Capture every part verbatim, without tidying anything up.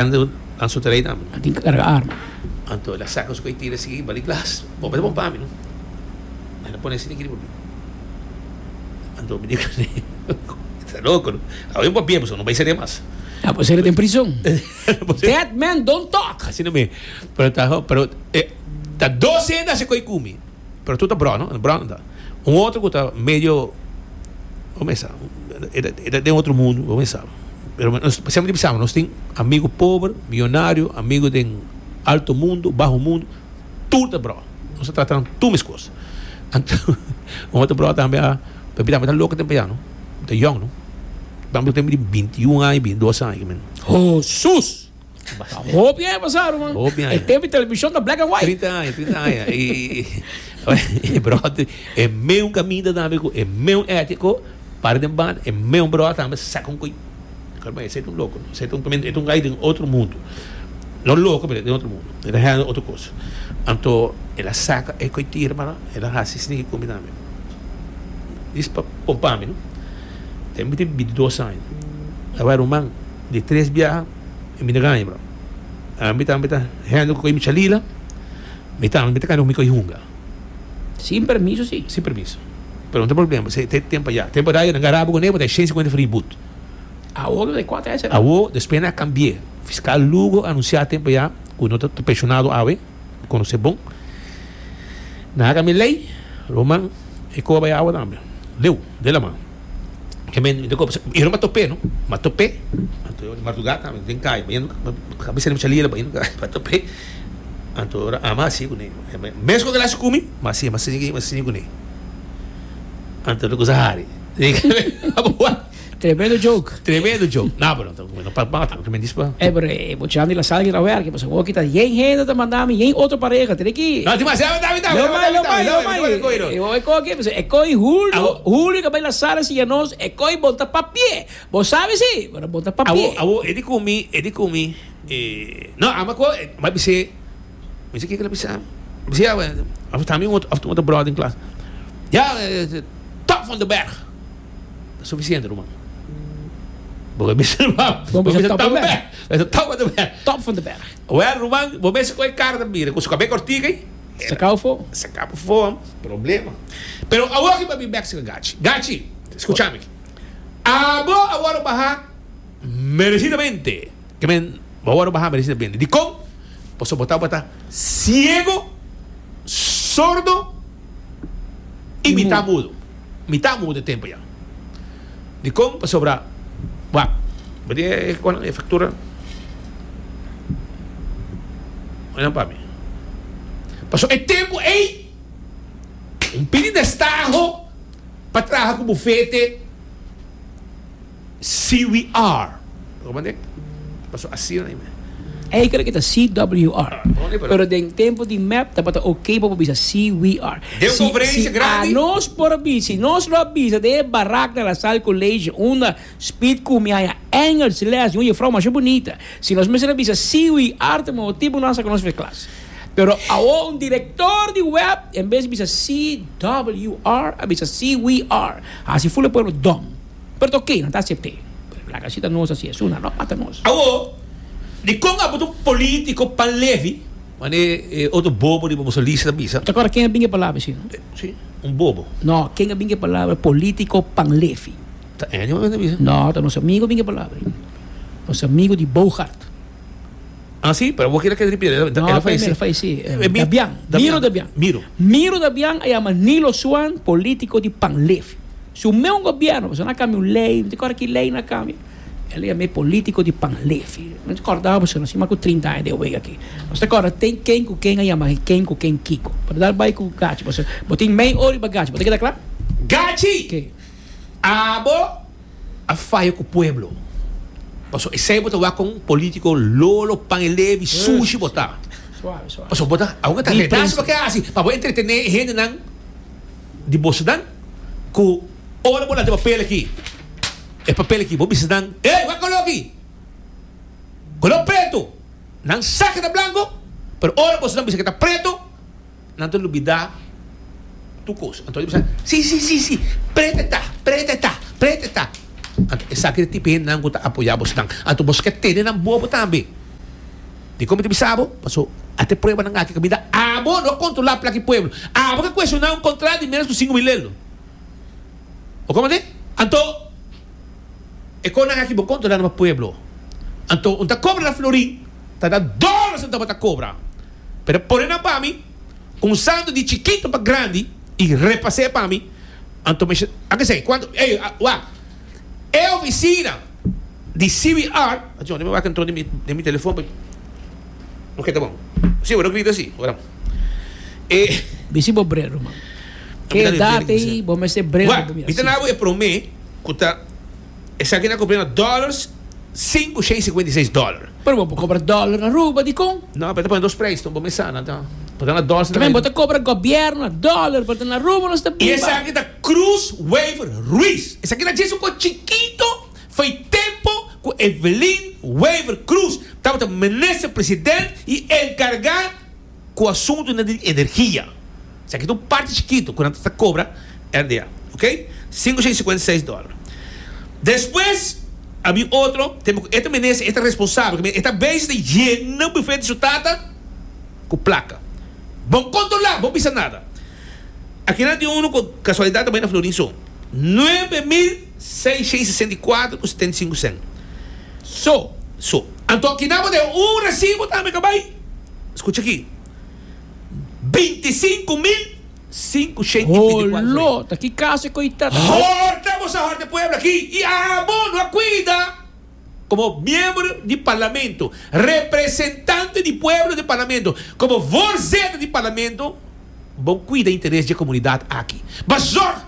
Nan su terei tambe. Nan tin carga arma. Anto el a saca su coitira sigui bali glas. Bo mester bon pa mi no. El a pone asina aki riba mi. Anto mi di cu ne, ta loco no. Awe mi papia pasobra no bay seria mas. A por ser den prison. Dead men don't talk. Asina mi. Pero ta pero e ta dos hende haci coy cu mi. Pero tur ta bro no. Bro no ta. Un otro cu ta medio bo mesa e ta den otro mundo bo mesa. Pero nos semper ta bisa nos tin amigo pober, miyonario, amigo den alto mundo, baho mundo, tur ta bro. Nos ta trata nan tur mescos. Anto un otro bro tambe a papi tambe ta loco tempo ya no, ta yong no. Tambe tempo di binti un aña, binti dos aña. Hosus! Ta hopi aña pasá, ruman. Hopi aña. E tempo di televishon ta black and white. Trinta aña, trinta aña. I, i, bròder, e meun kaminda tambe ku e meun étiko, para den banda, e meun bròder tambe saka un koi. Karma, esei ta un loko, no? Esei ta un, e ta un gai den otro mundu. No loko, pero den otro mundu. E ta handle otro kos. Anto, el a saka e koi tira para, el a hasi sneaky ku mi tambe. Dis pa pompa mi, no? Tempu mi tin bintidos aña. Awe ruman, di tres biaha. E mi ta gaña bro. Ami tambe ta handle cu mi chalila. Mi tambe mi ta cana cu mi coy hunga. Sin permiso si. Sin permiso. Pero no ta problema pasobra te tempo allá. Tempo allá nan garaba cu ne bo ta shen cincuenta florin but. Awor lo de cuatro esei. Awor despues nan a cambi'e. Fiscal Lugo a anuncia tempo allá cu no ta pensionado awe. Mi conoce bon. Nan a cambia ley. Roman e coba e awa tambe. Leu de la man. Ke men mi ta koba i no top'é no ma top'é anto di mardugá tambe den kaya bayendo kabesa di mucha lila bayendo kaya ma top'é anto ora ama hasi kuné mes ku el hasi ku mi ma hasi ma sigui ma sigui kuné anto lo kusa hari Tremendo joke. Tremendo joke. No, pero no pa mata, no tremendo pa. Eh, pero e muchanan di la sala ki ta werk, pasobra awor kita yen hende ta manda mi, yen otro pareha, tene ki. No, tin mas, dame, dame, dame, Lo mai, lo mai, lo mai. dame, dame, E e koki, pasobra e koi Julio, Julio ke bai la sala siña nos, e koi bo ta papie. Bo sabi si, pero bo ta papie. Awor, awor, e di ku mi, e di ku mi, eh, no, ama ku, mi a bis'é, mi si kiko el a bisa mi, mi bisa, ya, of ta mi un otro, of ta un otro brother den klas, ya, top van de berg. Ta suficiente ruman. Bo ke bisa ruman. Bo bisa top van de berg. Bo bisa top van de berg. Top van de berg. Well ruman, bo mester koe kara ta mira ku su kabes kortiku ei. Saka afo. Saka afo, problema. Pero awor ki bo a bin bek sika Gachi. Gachi, skucha mi. Abo a wòrdu baha meresidamente. Ke men, bo a wòrdu baha meresidamente. Dikon? Pasobra bo tabata siego, sordo i mitá mudo. Mi ta muda e tempo ya. Dikon? Pasobra, wak, bo tin e konan, e faktura? Oinan pa mi. Pasobra e tempo ei, un pidi destaho pa traha ku bufete C W R. Bo comprende? Pasobra asina ei. Ei kere kita C W R. Pero den tempo di mep tabata ok pa bo bisa C W R. Den un Si, conferencia si grandi. anos por a bisa, si nos lo a bisa den e barak na La Salle College unda Speed cu mi haya Engels les di un juffrouw masha bunita, si nos mester a bisa C W R ta motibo tipo nos a saca nos for klas. Pero awo un director di web en bes di bisa C W R a bisa C W R. Haci ful e pueblo dom. Pero ta ok, nan ta acepte. Pero laga si ta nos haci esun, nan no mata nos. Awo, dikon abo ta un politico pan levi? Mane e otro bobo riba boso lista ta bisa. Ta kòrda ken a bin e palabra esi, no? Si, un bobo. No, ken a bin e palabra politico pan levi? Ta Ennio a bisa? No, ta nos amigo a bin e palabra. Nos amigo di Bogart. Ah, si? Pero bo kere keda ripiti, el No, a fayesé. el a fayesé. Dabian, Miro Dabian. Miro. Miro Dabian a yama Nilo Swan politico di pan levi. Su meun gobierno, pasobra nan a cambia un ley, mi ta corda ki ley nan a cambia, el a yama e politico di Panlefi. Mi ta corda pasobra nos tin mas cu trinta aña den wega aki. Nos ta corda ten ken cu ken a yama ken cu ken kico. Pero dal bay cu Gachi, pasobra bo tin mei ora riba Gachi, bo ta keda cla? Gachi! Ke? Abo a faya cu pueblo. Pasobra esey bo ta wak con politico lolo, pan e levi, sushi bo ta. Suave, suave. Pasobra bo ta, awor ta Di redaci bo prensa. ke haci pa bo entretene e hendenan di bosonan ku ora bo lanta e papel aki, e papel aki, bo bisa nan, Ey, wak koló aki! Koló pretu! Nan sa ke ta blanku, pero ora bosonan bisa ke ta pretu, nan ta lubidá tur kos. Anto nan ta bisa, Si, si, si, si, pretu e ta, pretu e ta, pretu e ta. Anto esaki ta e tipo hendenan ku ta apoyá bosonan. Anto boso ke tene nan bobo tambe. Di kon mi ta bisa bo, paso ata pruebanan aki kaminda abo no kontrolá plaka di pueblo. Abo ke kuestioná un kontrato di ménos ku sinku mil euro. O komo te? Anto e konan aki bo kontrolá na pueblo. Anto un ta kobra na florin, ta na dòlars nan tabata kobra. Pero pone nan pa mi, kuminsando di chikitu pa grandi i repas'é pa mi. Anto mi a kese kuantu, ey, wak, e ofisina di C B R, John, mi wak entró den mi, den mi telefon, pa. Ok, ta bon. Sí, bueno, grita sí. Ora. E Bisti bo bril, man. Ke edat ei, bo mester bril. Wak, mi ta nabo e promé ku ta esaki na compré na dollars sinku shen sinkuenta i seis dollar. Pero bo por kobra dòler na Aruba, di kon? No, pero ta pone dos prijs, bo mesa na ta. Pone na dollars. Tambe bo ta kobra gobièrnu na dòler, pero na Aruba nos ta E biba. esaki ta Cruz Wever Ruiz. Esaki ta djis un ko chikito foi tempo ku Evelyn Wever Cruz tabata minister president i enkargá ku asuntu di energia. Esaki ta un parti chikito ku nan ta kobra R D A. Ok? sinku shen sinkuenta i seis dollar. Despues, había otro, tempo, e minister, e responsabel, e bes di yena bufete su tata ku plaka. Bon kontrolá, bon bisa nada. Aki nan tin uno ku kasualidat tambe na florin so. nuebe mil seisshen sesenta i kuater ku setenta i sinku cent. So, So, anto aki nan tin un resibo tambe ku bai. Skucha aki. bintisinkumil sinkushen i bintikuater. Holo, ta ki kaso koitado. Horta, bo a horta pueblo aki. I abo no kuida komo miembro di parlamento, representante di pueblo di parlamento, komo voorzitter di parlamento, bo no kuida interes di komunidat aki. Ma zorg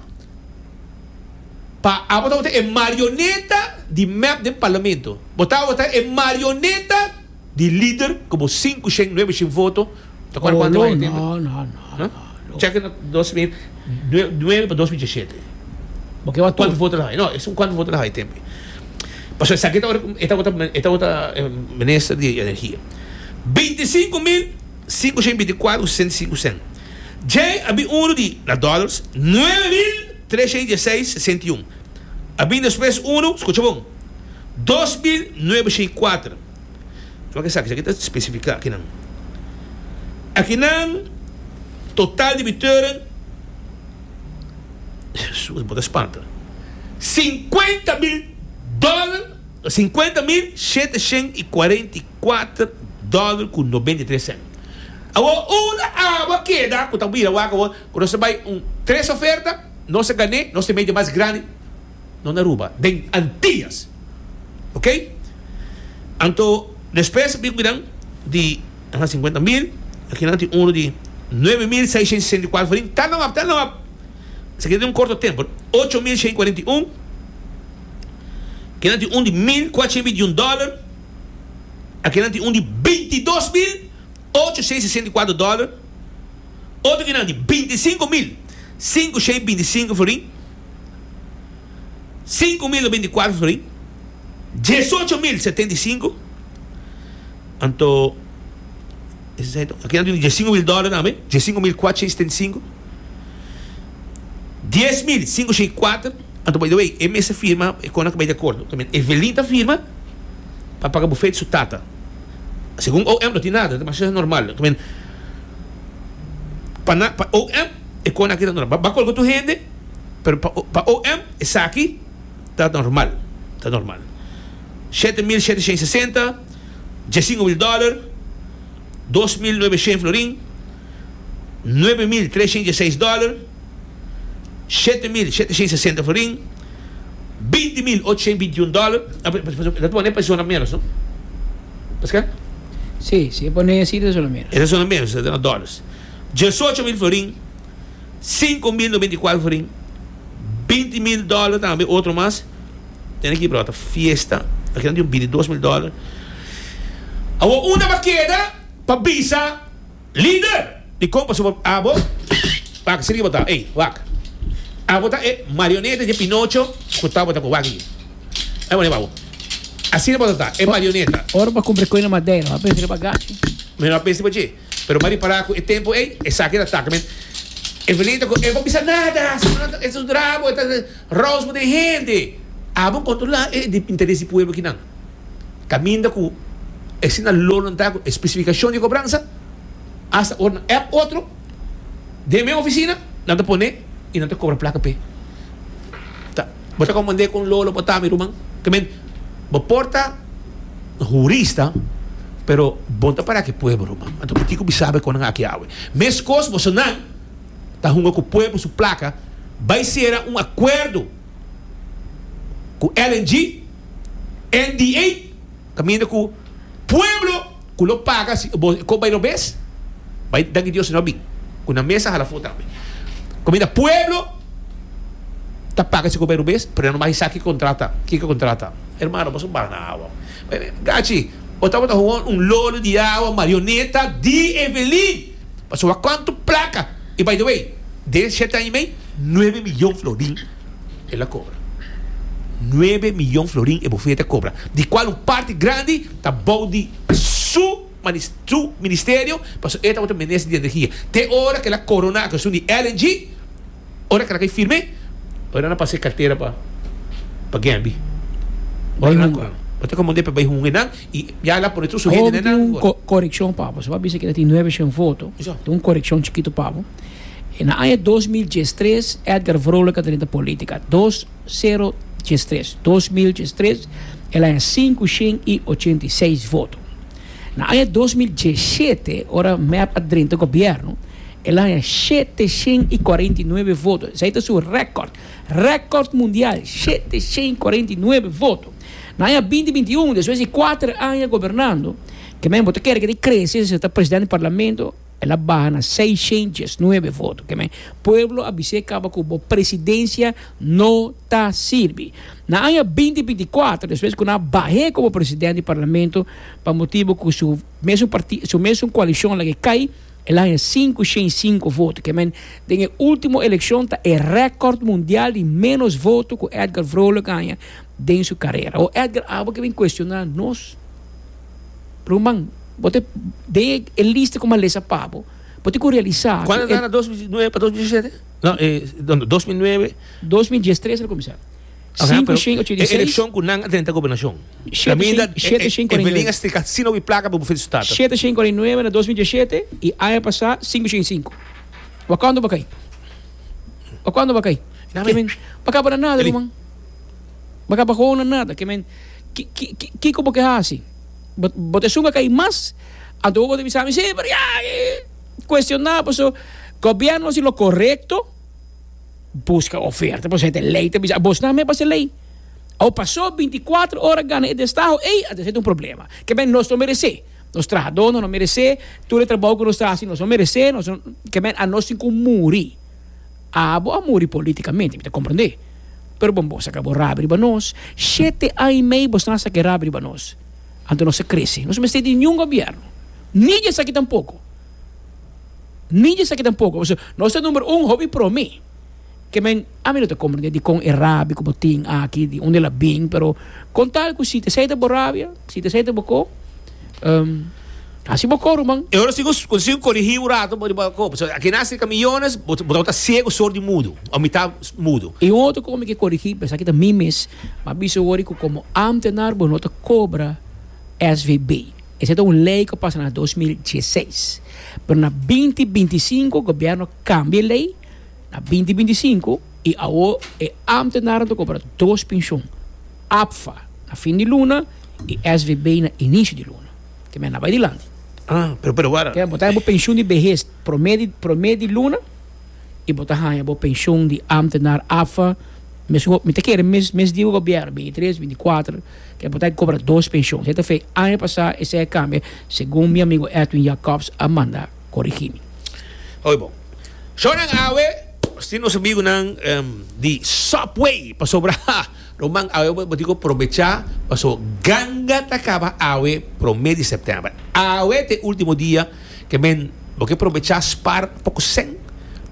pa abo ta e marioneta di M E P di parlamento. Bo ta e marioneta di lider komo sinku, nuebe voto. Ta kuantu Holo, bai tempu? No, no, no. Huh? Check na dos mil nuebe pa dos mil diesshete. Porque wa Kuantu voto el a? No, e un kuantu voto el a tempu. Paso esaki ta esta esta esta minister di energia. bintisinkumil sinkushen bintikuater sesenta i sinku cent. J abi uno di na dollars nuebe mil tresshen diesseis sesenta i un. Abi despues uno, skucha bon. dos mil noveshent kuater. Wak, esaki, esaki ta spesifiká aki nan. Aki nan total debiteuren, bo ta spanta. sinkuenta mil dòler, sinkuenta mil seteshent i kuarenta i kuater dòler ku nobenta i tres cent. Awor, una awa keda, ku ta bira wak awor, ku nos bai un tres oferta, nos a gana, nos ta medio mas grandi, no na Aruba, den Antillas. Ok? Anto, despues, bin miran, di sinkuenta mil, aki nan tin uno di nuebe mil seisshen sesenta i kuater florin, ta no ta no. Esaki tin un korto tempu, ocho mil shen kuarenta i un. Aki nan tin un di mil kuatershen bintiun dòler. Aki nan tin un di bintidos mil ochoshen sesenta i kuater dòler. Otro aki nan di bintisinkumil sinkushen bintisinku florin. sinku mil bintikuater florin. diesocho mil setenta i sinku. Anto, aki nan tin diesinku mil dòler tambe, diesinku mil kuatershen setenta i sinku. dies mil sinkushen kuater. Anto, by the way, e mes firma, e kon bai di akuerdo. Tambe Evelyn ta firma pa paga buffet su tata. Segun O M no tin nada, ma esei ta normal. Tambe pa na, pa O M e kon aki ta normal. Ba kolka tur hende, pero pa, pa O M esaki ta normal, ta normal. shete mil seteshent sesenta, diesinku mil dòler, dos mil noveshent florin, nuebe mil tresshen diesseis dòler, shete mil seteshent sesenta florin, binti mil ochoshen bintiun dòler. Dat pone persona menos, no? Pascal? Sí, sí, pone asina ta solo menos. Esei ta menos, ta dòlars. diesocho mil florin, sinku mil noventa i kuater florin, binti mil dòler tambe, otro mas. Tin aki, bro, fiesta. Aki tin bintidos mil dòler. Awor, unda a keda pa bisa lider. Di kompa sobre abo. Wak, sigui bota. Ei, wak. Abo ta e marioneta di Pinocho ku ta bota ku wak aki. Ei, bueno, babo. Asina bota ta, e marioneta. Ora pa kumpra koi na Madeira, a pensa bagashi. Mi no pensa pa pero mari para ku e tempu ei, esaki ta tak men. Evelyn ta ku e no bisa nada, e un drama, e ta roos de hende. Abo kontrolá e di interes di pueblo aki nan. Kaminda ku Asina lolo nan ta ku espesifikashon di kobransa, hasta ora nan app otro den mes ofisina, nan ta pone i nan ta kobra plaka p'e. Ta, bo ta komprendé kon lolo bo ta, mi ruman? Ke men, bo por ta hurista, pero bo no ta para ku e pueblo, ruman. Anto bo tin ku bisa bo kon nan aki awe. Meskos bosonan ta hunga ku pueblo su plaka, bai sera un akuerdo ku L N G, N D A, kaminda ku pueblo ku lo paga si bo ko bai robes, bai danki Dios no bin ku nan mesa hala afó tambe. Kaminda pueblo ta paga si ko bai robes, pero nan no bai sa ki kontrata, kiko kontrata. Hermano, boso baha na awa. Gachi, bo tabata gewoon un lolo di awa, marioneta di Evelyn. Pasobra kuantu plaka. I by the way, den shete aña i mei, nuebe miyon florin el a kobra. Nuebe miyon florin e bufete a kobra, di kual un parti grandi ta bou di su su ministerio, pasobra e tabata minister di energia. Te ora ku el a korona a kuestion di L N G, ora ku el a kai firme, ora nan a pasa e kartera pa pa Gembi. Bai Ora nan hunga. Bo ta komand'é pa bai hunga nan i ya el a pone tur su Awor hende tin nan. un ko korekshon pa bo. So bo a bisa ku tin nuebe shen voto. Iso. Tin un korekshon chikitu pa bo. Na aña dos mil dies tres Edgar Vrolijk a drenta polítika. Dos sero dies tres. Dos mil dies tres el a haña sinku shen i ochenta i seis voto. Na aña dos mil dies shete, ora M E P a drenta gobièrnu, el a haña shete shen i kuarenta i nuebe voto. Esei ta su rèkòrt. Rèkòrt mundial, shete shen i kuarenta i nuebe voto. Na aña binti binti i un, despues di kuater aña gobernando, ke men bo ta kere ke ta krese si ta presidente di parlamento, el a baha na seishentes nuebe voto. Ke men pueblo a bis'é kaba ku bo presidensia no ta sirbi. Na aña binti binti i kuater, despues ku nan a bah'é komo presidente di parlamento pa motibu ku su mesun parti su mesun koalishon a laga e kai, el a haña sinku shen i sinku voto. Ke men den e último elekshon ta e rèkòrt mundial di ménos voto ku Edgar Vrolijk a haña den su karera. O Edgar, abo ke bin kuestioná nos? Ruman, bo ta den e lista ku mi a lesa pa bo, bo tin ku realisá ku Kuantu e ta na dos mil nuebe pa dos mil diesisiete? No, eh, dos mil nuebe. Dos mil diestres el a kuminsá. Aha, Sinku pero shen ochenta e i seis. elekshon ku nan a drenta gobernashon. Shete Kaminda shen, shete shen kuarenta i Evelyn nuebe. a strika asina hopi plaka pa bufete su tata. Shete shen kuarenta i nuebe na dos mil diesisiete i aña pasá sinku shen i sinku. Wak kuantu bo kai? Wak kuantu bo kai? Name. Ke men, bo kaba na nada, Eli. ruman. Bo kaba gewoon na nada. Ke men, ki, ki, ki, kiko bo ke hasi? Bo, bo ta esun a kai mas, anto bo ta bisa mi, sí, pero ya, eh, kuestioná, paso gobièrnu hasi lo korekto, buska oferta, paso e ta lei ta bisa, bos nan me pasa lei. Au pasó bintikuater ora gana e destaho, ey, a ta un problema. Ke men nos no meresé. Nos trahadónan no meresé, tur e trabou ku nos ta hasi nos no meresé, nos no, ke men a nos tin ku muri. Abo a muri polítikamente, mi ta komprendé. Pero bon, bo saka bo rabia riba nos, shete aña i mei bos nan a saka e rabia riba nos. Anto nos a krese. Nos no mester di niun gobièrnu. Ni di esaki tampoko. Ni di esaki tampoko. Pasobra nos ta number un hopi promé. Ke men, ami no ta komprendé dikon e rabia ku bo tin aki, di unda el a bin, pero kon tal ku si ta esei ta bo rabia, si ta esei ta bo ko, um, hasi bo ko, ruman. E ora sigo consigo corrigir un rato bo bo ko. So aki na cerca millones, bo bo ta ciego, sordo y mudo. O mitad mudo. I un otro ku mi ke korigí, pensá ki ta mi mes, ma bisa wori ku komo ámtenar bo no ta kobra S V B. Esei ta un lei ku a pasa na dos mil diesseis. Pero na binti binti i sinku gobièrnu kambia e lei na binti binti i sinku i awor e ámtenarnan ta kobra dos penshon. A P F A na fin di luna i S V B na inisio di luna. Ke men a bai dilanti. Ah, pero pero wara. Ke bo ta haña bo penshon di behes promé di promé di luna i bo ta haña bo penshon di ámtenar A P F A mes mi ta kere mes mes di gobièrnu binti i tres, binti i kuater ke bo ta kobra dos penshon. Esei ta fe aña pasá esei a kambia segun mi amigo Edwin Jacobs a manda korigí mi. Hoi bon. Shonan awe, si nos amigunan um, di Subway pasobra ruman awe bo tin ku probechá paso ganga ta kaba awe promé di sèptèmber. Awe ta e último dia ke men bo ke probechá spar poko sèn.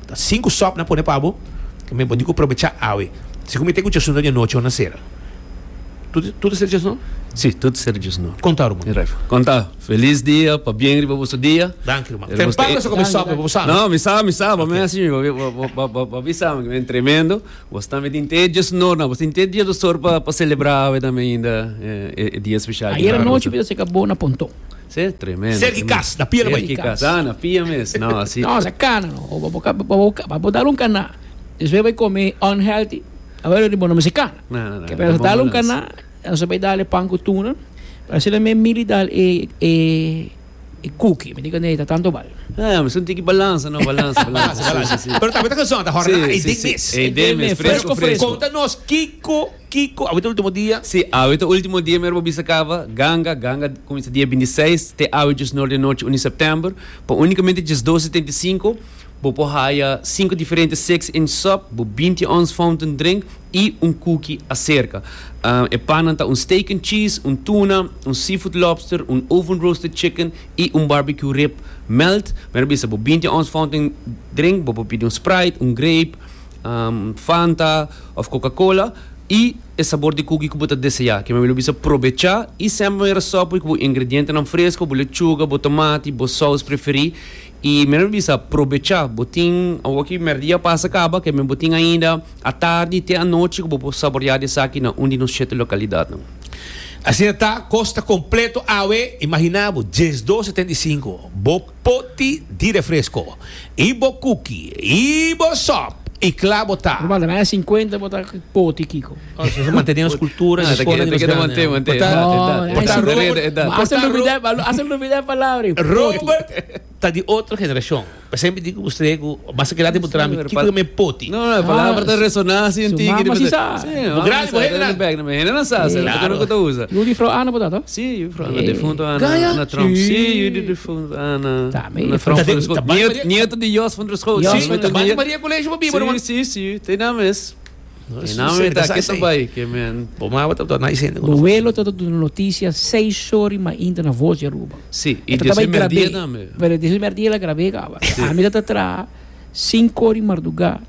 Ta sinku sòp nan pone pa bo ke men bo tin ku probechá awe. Si ku mi te ku djasun di anochi na sera. Tu tu ta sera djasun? Si, tur ser diesun or. Konta, ruman. Konta. Felis dia, pabien riba boso dia. Danki, ruman. Tempran bo kuminsá, bo sa. No, mi sa, mi sa, mi asina, mi bisa, mi tremendo. Bo tambe tin te diesun or, no, bo tin te diesdos or pa pa selebrá tambe ainda e dia spesial. Ayera nochi a kaba na Ponton. Si, tremendo. Serka kas, na pia. Serka kas, ah, na pia mes. No, asina. No, sa kana, no. Bo dal un kana. Despues bai kome unhealthy. Awor bo no se kana. No, no, no. Ke pero dal un kana, nos bai dal pan ku tuna. Asina mi miri dal e e e cookie, mi digo nee, tantu bal. Ah, ma tin ku balansa, no, balansa, balansa. Balansa. Pero tambe ta gezond, ahora Si, e si, ding mes. E ding mes, fresku, fresku. Konta nos, Kiko, Kiko, awe último dia. Si, awe último dia mes bisa kaba, ganga, ganga kuminsá dia bintiseis, te awe diesun or di anochi, un di sèptèmber, pa únikamente diesdos setenta i sinku, bo por haya sinku diferente six inch sub, bo binti ounce fountain drink i un cookie aserka. Uh, e pan ta un steak and cheese, un tuna, un seafood lobster, un oven roasted chicken i un barbecue rib melt. Maar bisa bo binti ounce fountain drink, bo por pidi un Sprite, un grape, um, Fanta òf Coca-Cola i e sabor di cookie ku bo ta deseá. Ke men bisa probechá i semper sòp ku ingredientenan fresku, bo lechuga, bo tomati, bo saus preferí. I men bisa probechá, bo tin aki mèrdia pasa kaba, ke men bo tin ainda atardi te anochi ku bo por saboreá esaki na un di nos shete lokalidatnan. Asina ta, kosto kompleto awe, imaginá bo, diesdos setenta i sinku. Bo poti di refresko, i bo cookie, i bo sòp, i klaro bo ta. Normal, mas sinkuenta bo ta poti, Kiko. Mantené nos kultura, Ah, nos te nos keda mantené, mantené. No, hasta lubidá e palabra. Robert ta di otro generashon. Semper digo ku bo, mas ku lati putrami, kiko me poti. No, no, e palabra ta resoná asina Su tigre. mama si sa. Si, Grandi, bo hende hende no sa, Claro. no ta usa. Yu di juffrouw Anna, bo ta? Si, juffrouw Anna, defuntu Anna, Gaya? Anna Trump. Si. Si, yu di defuntu Anna. Ta, me- Anna Trump Ta van der de- Schoot. ta Nieto, Maria- nieto di Jos van der Schoot. Jos Si, van der ta Maria College pa biba, Si, si, si, tin naam is. Tin naam is, ta kita bai, ke men. Bo mama ta nice hende. Bo welo ta duna notisia seis or mainta na Voz di Aruba. Si, i Esta di tambe merdia grabé. tambe. Pero di merdia el a grab'é kaba. Ami ta tra sinku or mardugá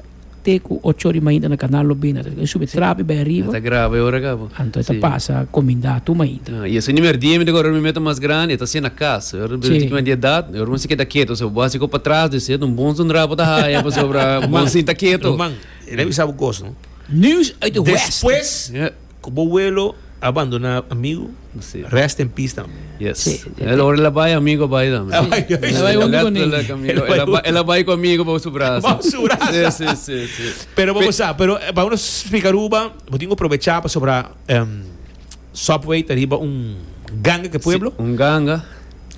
te ku ocho or mainta na Kanal Lobina. Subi trapi bai ariba. Ta grave ora kaba. Anto ta pasa kumindá tur mainta. Ah, i esei merdia mi awor mi meta mas grandi, ta asina na kas. Eu Si. tin un edat, eu não sei que tá quieto, se eu básico para trás, descer um bom sondrapo tá raia, para sobra, um bom sim tá quieto. Ruman, e sabe kos, no? Nieuws uit de West. Despues, Ja. ku bo welo a bandoná amigu, Si. rest in peace tambe. Yes. Si. El ora el a bai, amigu bai tambe. El a bai, El a bai huntu kuné. Amigu, el a bai, el a bai ku amigu pa su brasa. Pa su brasa. Si, si, si, si. Pero ban na, pero eh, pa nos splika Aruba, bo tin ku probechá pa sobre um, Subway, ariba un ganga ku pueblo. Si, un ganga.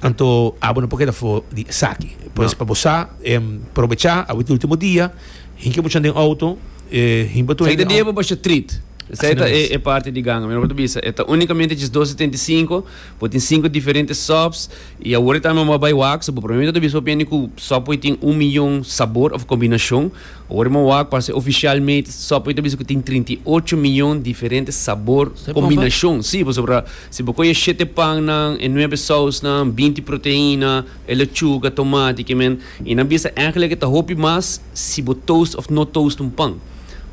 Anto, abo no por keda for di esaki. Pues No. pa bo um, probechá, e último dia, hinka bo den outo, eh, hinka Esei ta dia pa basha treat. Esei Asina e, mes. e parti di ganga. Mi no bisa, ta únikamente diesdos setenta i sinku, bo tin sinku diferente subs i awor tambe m'a bai wak, so probablemente bisa opinie ku Subway tin un mion sabor òf kombinashon. Awor m'a wak parse ofisialmente Subway bisa ku tin trinta i ocho mion diferente sabor Esei kombinashon. Si, sobre si bo kohe shete pan nan, e nuebe saus nan, binti proteina, e lechuga, tomati, ke men, i nan bisa eigenlijk ta hopi mas si bo toast òf no toast un pan.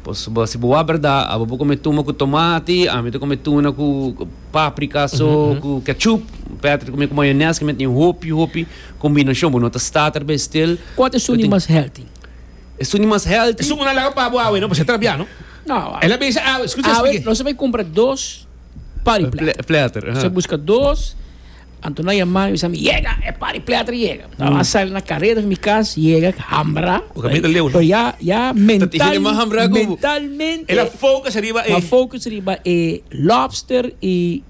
Pues, bo, si bo berdat, abo por kome tuna ku tomati, ami ta kome tuna ku ku paprika, so, ku ketchup, Patrick kome ku mayonaise, ku tin hopi, hopi kombinashon, bo no ta starter bij stil. Kua ta esun mas healthy? Esun mas healthy. Esei no laga pa bo awe, no, pasobra ta trabiá, no? No, El a bisa, ah, skucha, ah, explica. nos bai kumpra dos party platter. Platter. Bo buska dos, Anto nan yama mi, yega, e party platter yega. Mm. Sali na kareda di mi kas, yega, hambra. O kaminda leu, no? Pero ya, ya mental, mas hambra ku- mentalmente, El a focus ariba ma eh. focus riba e lobster i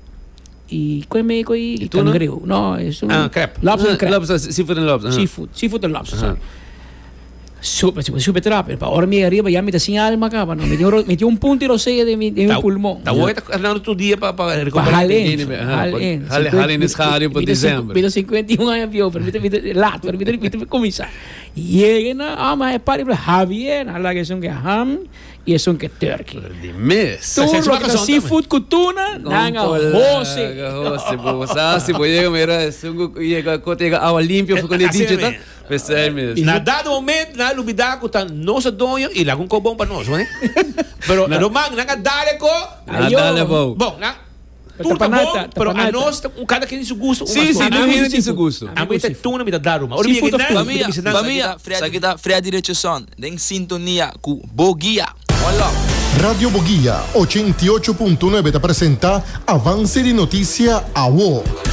i kon e i I tuna? kangreu. No, e un Ah, crab. Lobster and crab. Lobster, seafood and lobster. Seafood, seafood and lobster, sorry. Super, super, super rápido. Pa ora mi ariba ya mi ta sin alma kaba, no. Mi tin un, mi tin un punto di rosea den mi, den mi pulmon. Ta hoy ta tur dia pa pa Pa rekuperá. halen, Aha, halen. halen- halen is schaduw pa december. Mi ta sinkuenta i un aña bieu, pero mi ta mi ta laat, pero mi ta mi ta kuminsá. Yega na, ah, ma e party Javier, ala ku esun ke ham i esun ke turkey. Di mes. Tur Sa- sa- loke ta sa- seafood ku tuna, nanga hose. Hose, bo, sa, bo yega, mira, sungo yega, kote yega awa limpio, fu con Asina dicho, ta? mes. Pesei mes. Na dado momento, na lubidá ku ta nos doño i laga un kos bon pa nos, no? Pero ruman, nan dale ko. Ah, Ayo. dale, bo. Bon, na Tur ta Tapanata, bom, pero tapanata. Anos, un kada ken su gusto. Si, si, tur hende tin su gusto. Ami ta tuna, mi ta daru, ma. Ora Seafood mi of tuna. mi Famia, famia, esaki ta Freddy Richardson, den sintonia ku Boguia. One love. Radio Boguia ochenta i ocho punto nuebe ta presenta Avance di Noticia Awo.